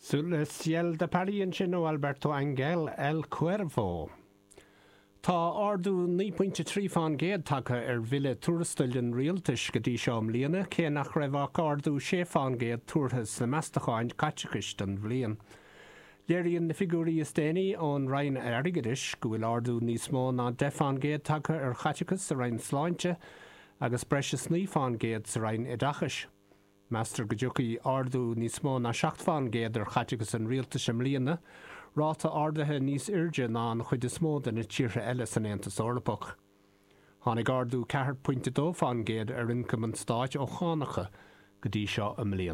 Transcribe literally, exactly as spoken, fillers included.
Sous le ciel de Paris ansin ó Alberto Angel El Cuervo. Tá ardú naoi bpointe trí faoin gcéad tagtha ar bhille tuarastail an rialtais go dtí seo i mbliana, cé nach raibh ach ardú sé faoin gcéad tuartha sna meastacháin caiteachais don bhliain. Léiríonn na figiúirí is déanaí ón Roinn Airgeadais go bhfuil ardú níos mó ná deich faoin gcéad tagtha ar chaiteachas sa Roinn Sláinte agus breis is naoi faoin gcéad sa Roinn Oideachais. Meastar go dtiocfaidh ardú níos mó ná seacht faoin gcéad ar chaiteachas an rialtais i mbliana, ráta ardaithe níos airde ná an chuid is mó de na tíortha eile san Aontas Eorpach. Tháinig ardú ceathair pointe dó faoin gcéad ar ioncam an stáit ó chánacha go dtí seo i mbliana.